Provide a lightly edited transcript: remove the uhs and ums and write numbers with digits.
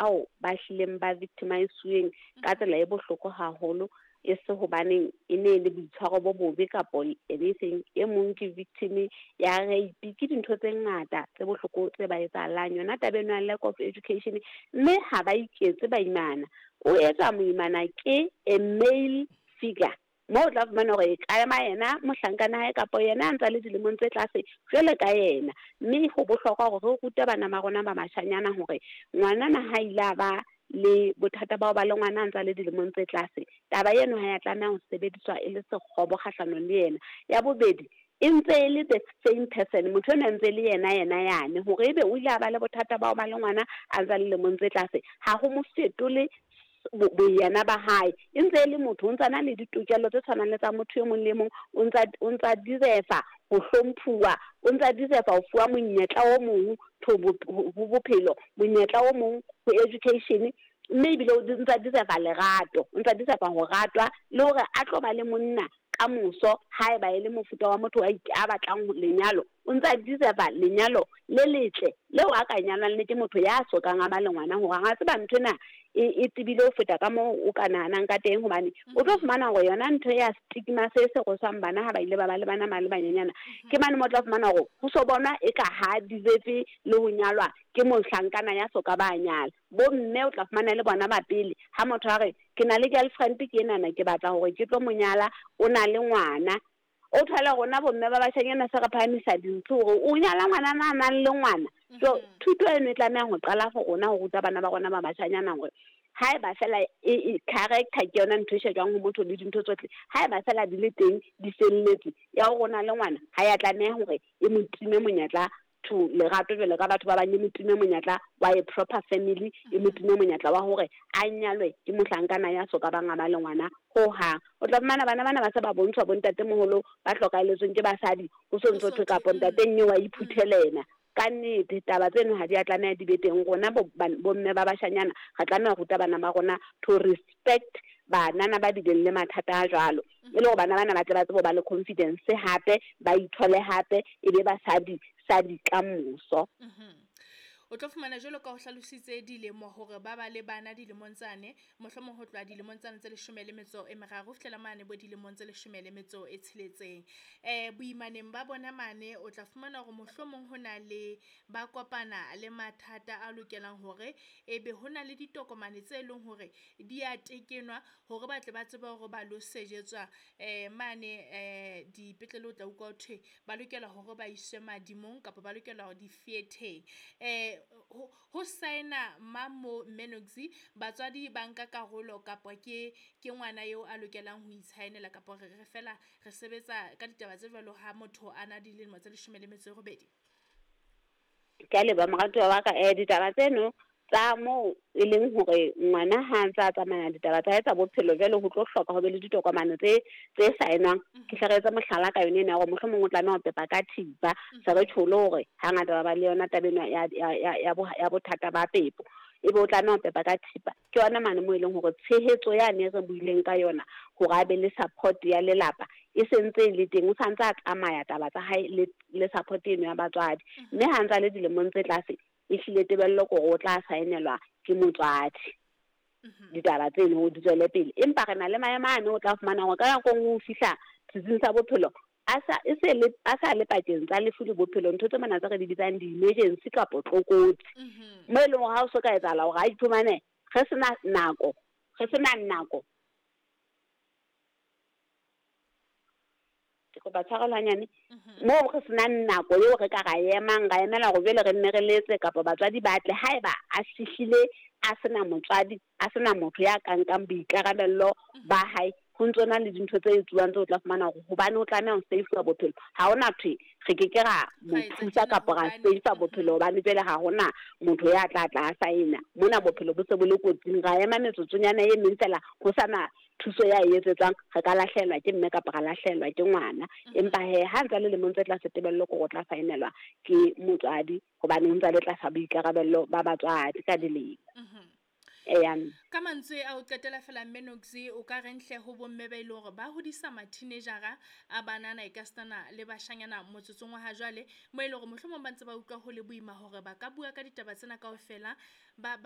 ao ba hlileng ba victimize-uweng ka tsela e bohloko haholo, e se hobaneng e ne le boitshwaro bo bobe kapo anything. E mong ke victim ya rape, ke dintho tse ngata tse bohloko tse ba etsahalang. Yona taba eno ya lack of education, mme ha ba iketse baimana. O etsa moimana ke a male figure, moo o tla fumana hore e ka ema yena mohlankana hae kapa yena a ntsa le dilemong tse tlase jwale ka yena. Mme ho bohlokwa hore re rute bana ba rona ba bashanyana hore ngwanana ha ile a ba le bothata ba ho ba le ngwana a ntsa le dilemong tse tlase, taba eno ha ya tlameha ho sebediswa e le sekgobo kgahlanong le yena. Ya bobedi, e ntse e le the same person, motho ena ntse le yena yena yane, hore ebe o ile a ba le bothata ba ho ba le ngwana a ntsa le lemong tse tlase, ha ho mo fetole boyena ba hae. E ntse e le motho, o ntsa na le ditokelo tse tshwanang le tsa motho e mong le mong, o ntsa deserve ho hlomphuwa, o ntsa deserve ho fuwa monyetla o mong ho bophelo, monyetla o mong ho education, mme ebile o ntsa deserve lerato, o ntsa deserve ho ratwa, le hore a tlo ba le monna ka moso haeba e le mofuta wa motho a batlang lenyalo, o ntsa deserve lenyalo le letle leo a ka nyalwang le ke motho ya sokang a ba le ngwana, hore a tseba ntho ena e tebile ho feta ka moo o ka nahanang ka teng. Hobane o tlo fumana hore yona ntho ya stigma se se rweswang bana ha ba ile ba ba le bana ba le banyenyana, ke mane mo tla fumana hore ho so bonwa e ka ha deserve le ho nyalwa ke mohlankana ya soka ba nyala. Bo mme o tla fumana le bona ba pele, ha motho a re ke na le girlfriend ke enana, ke batla hore ke tlo mo nyala, o na le ngwana, o thole rona bomme ba bashanyana se re phahamisa dintho hore o nyala ngwana a nang le ngwana. So thuto eno e tlameha ho qala for rona ho ruta bana ba rona ba bashanyana hore haeba fela e character ke yona ntho e shejwang ho motho le dintho tsohle, haeba fela di le teng di felletse, ya hore o na le ngwana ha ya tlameha hore e mo time monyetla to lerato jwalo ka batho ba bang, e mo time monyetla wa a proper family, e mo time monyetla wa hore a nyalwe ke mohlankana ya soka bang a ba le ngwana hohang. O tla fumana bana bana ba se ba bontshwa bo ntatemoholo ba hlokahelletsweng ke basadi, ho so ntso thwe kapa ntate nnye wa iphuthela. Ka nnete taba tseno ha di a tlameha di be teng. Rona bomme ba bashanyana re tlameha ho ruta bana ba rona to respect banana ba bileng le mathata a jwalo, e le hore bana bana ba tle ba tsebe ho ba le confidence hape, ba ithole hape, e be basadi sadi ka moso. O tlo fumana jwalo ka ho hlalositse dilemo hore ba ba le bana dilemong tsane, mohlomong ho tloha dilemong tsane tse 13 ho fihlela mane bo dilemong tse 16. Boimaneng ba bona mane o tla fumana hore mohlomong ho na le ba kopana le mathata a lokelang hore ebe ho na le ditokomane tse leng hore di a tekenwa hore ba tle ba tsebe hore ba lo sejetswa mane dipetlele. O tla utlwa ho thwe ba lokela hore ba iswe madimong kapa ba lokela hore di-theater-eng. Ho saena mang mo Menoxy, batswadi ba nka karolo kapa ke ngwana eo a lokelang ho itshaenela, kapa re fela re sebetsa ka ditaba tse jwalo ha motho a na dilemo tse 18? Ke a leboha moratuwa wa ka. Ditaba tseno tsa moo e leng hore ngwana ha ntse a tsamaya ditaba tsa hae tsa bophelo, jwale ho tlo hloka ho be le ditokomane tse saenwang. Ke hle re etse mohlala ka yone ena ya hore mohlomong o tlameha ho pepa ka thipa, se re tjholo hore hangata ba ba le yona taba ena ya bothata ba pepo, ebe o tlameha ho pepa ka thipa. Ke yona mane moo e leng hore tshehetso yane re buileng ka yona hore a be le support ya lelapa e sentse e le teng, o santse a tsamaya taba tsa hae le support eno ya batswadi. Mme ha ntse a le dilemong tse tlase, e hlile tebello ke hore o tla saenelwa ke motswadi ditaba tseno di tswele pele. Empa re na le maemo ane o tla fumana hore ka nako e nngwe o fihla setsing sa bophelo a sa le pakeng tsa lefu le bophelo, ntho tse mona tse re di bitsang di-emergency kapa tlokotsi, mo e leng hore ha o so ka etsahala hore a iphumane re sena nako, ke kopa tshwarelo hanyane, moo re senang nako eo re ka ra emang ra emela hore jwale re nne re letse kapa batswadi ba tle. Haeba a fihlile a sena motswadi, a sena motho ya ka nkang boikarabello ba hae, ho ntso na le dintho tse etsuwang tse o tla fumana hore hobane o tlameha ho save bophelo, ha hona thwe re ke ke ra mo thusa kapa ra save bophelo hobane jwale ha hona motho ya tla tla a saena. Mona bophelo bo se bo le kotsing, ra ema metsotsonyana e meng fela ho sana thuso ya e etsetswang, re ka lahlehelwa ke mme kapa ra lahlehelwa ke ngwana. Empa he ha ntse le lemong tse tlase, tebello ke hore o tla saenelwa ke motswadi hobane o ntse le tlasa boikarabello ba batswadi ka dilemo. Ka mantswe a o qetela fela Menoxy, o ka reng hle ho bomme ba ile hore ba hodisa ma-teenagera a banana e ka sitana le bashanyana motsotsong wa ha jwale, mo e leng hore mohlomong ba ntse ba utlwa ho le boima hore ba ka bua ka ditaba tsena kaofela, ba